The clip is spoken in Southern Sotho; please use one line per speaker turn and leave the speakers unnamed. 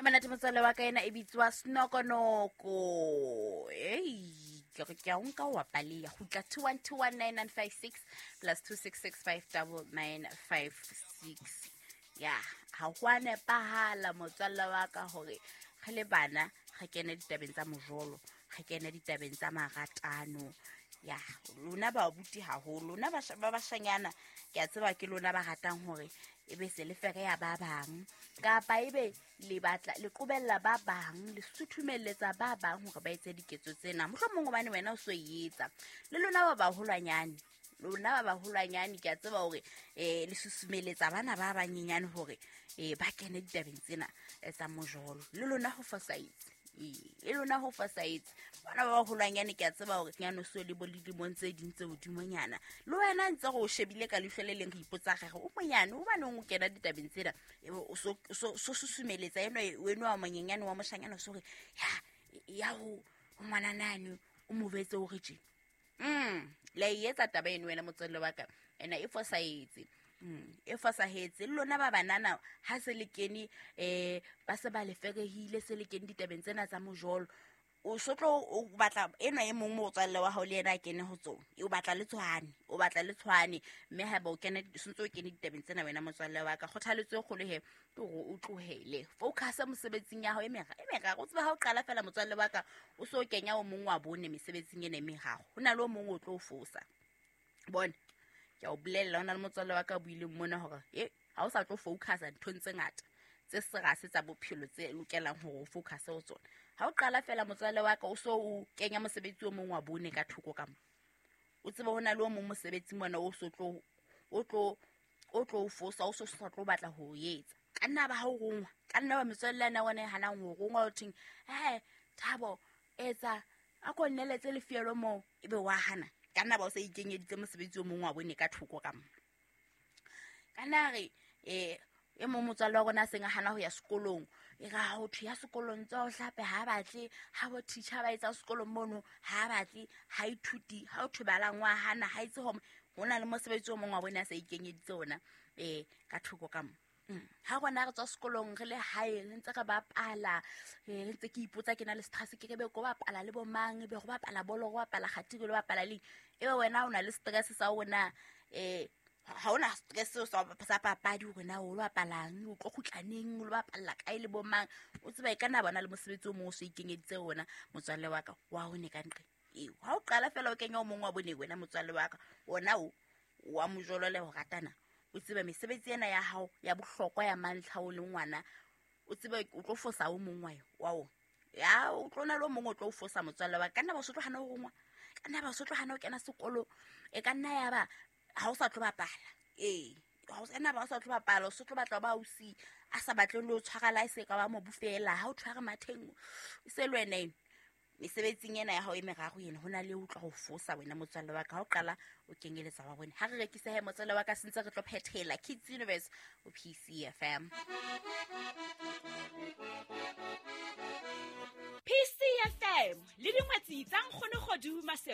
Monate motswalle wa ka, ena e bitswa Snokonoko. Ei, ke re ke a o nka wa paleya. Kgutla 21219956 plus 26659956. Ya, ha ho a nepahala motswalle wa ka hore re le bana re kene ditabeng tsa mojolo, re kene ditabeng tsa maratano. Ya, lona babuti haholo, lona ba bashanyana, ke a tseba ke lona ba ratang hore e be se le fereya ba bang, kapa ebe le batla le qobella ba bang, le suthumelletsa ba bang hore ba etse diketso tsena, mohlomong hobane wena o so e etsa. Le lona ba baholwanyane, lona ba baholwanyane, ke a tseba hore le susumelletsa bana ba banyenyane hore ba kene ditabeng tsena tsa mojolo. Le lona ho fosahetse, le lona ho fosahetse. Bana ba baholwanyane, ke a tseba hore nyane o so le bo le dilemong tse ding tse hodimonyana, le wena ntse re o shebile ka leihlo le leng, re ipotsa re re o monyane, hobaneng o kena ditabeng tsena? Ebe o so susumeletsa eno weno wa monyenyane wa moshanyana, o so re ya ho ngwananane, o mo jwetse hore tje. La e etsa taba eno wena motswalle wa ka, ena e fosahetse. E fosahetse. Le lona ba banana, ha se le kene, ba se ba le ferehile, se le kene ditabeng tsena tsa mojolo, o so tlo o batla enwa e mong motswalle wa hao le yena a kene ho tsona, o batla le tshwane, o batla le tshwane. Mme haeba o kene, sentse o kene ditabeng tsena wena motswalle wa ka, kgothaletso e kgolo he ke hore o tlohele, focus mosebetsing ya hao e meraro. O tsebe ha o qala fela motswalle wa ka, o so kenya o mong wa bone mesebetsing ena e meraro, ho na le o mong o tlo o fosa. Bone, ke a o bolella, ho na le motswalle wa ka o buileng mona hore ha o sa tlo focusa nthong tse ngata tse serase tsa bophelo tse lokelang hore o focuse ho tsona. Ha o qala fela motswalle wa ka, o so o kenya mosebetsi o mong wa bone ka thoko ka mo, o tsebe ho na le o mong mosebetsi mona o so tlo, o tlo, o tlo o fosa, o so sa tlo batla ho o etsa. Ka nna ba ha o rongwa, ka nna ba metswalle ya wena e hanang ho rongwa, o theng, Thabo, etsa, a ko nneletse lefielo moo, ebe wa hana. Ka nna ba o sa ikenyeditse mosebetsi o mong wa bone ka thoko ka mo. Ka nna re, e mong motswalle wa rona a seng a hana ho ya sekolong, e re ha ho thwe ya sekolong tsa ho hlape ha batle, ha bo teacher ba etsa sekolong mono ha batle, ha ithuti, ha ho thwe balang wa hana, ha itse hore ho na le mosebetsi o mong wa bone a sa ikenyeditse ona, ka thoko ka mo. Ha rona re tswa sekolong re le hae, re ntse re bapala, re ntse ke ipotsa ke na le stress, ke re be ko bapala le bo mang, be go bapala bolo, go bapala kgati, re lo bapala leng. Ebe wena o na le stress sa ona, ha ona stress seo sa papadi hore na o lo bapalang, o tlo kgutla neng, o lo bapalla kae le bo mang. O tseba e ka nna bona le mosebetsi o mong o so ikenyeditse ona motswalle wa ka, wa o ne ka nqe. Eo, ha o qala fela o kenya o mong wa bone wena motswalle wa ka, ona o wa mojolo le ho ratana, o tsebe mesebetsi ena ya hao ya bohlokwa ya mantlha o le ngwana, o tsebe o tlo fosa o mong wa ona. Ya, o tlo na le o mong o tlo o fosa motswalle wa ka. Ka nna ba o so tlo hana ho rongwa, ka nna ba o so tlo hana ho kena sekolo, e ka nna ya ba ha o sa tlo bapala. Ee, ha o sa nna ba o sa tlo bapala, o so tlo batla ba ausi a sa batleng le ho tshwara la e se ka ba mobu fela, ha o tshware matheng, e se le wena eno. Mesebetsing ena ya hao e meraro ena, ho na le o tla ho fosa wena motswalle wa ka, ha o qala o kenyeletsa wa bone. Ha re rekise he motswalle wa ka, sentse re tlo phethela Kids Universe o PCFM.
PCFM le dingwetsi tsa Nkgono Kgodu Maseru.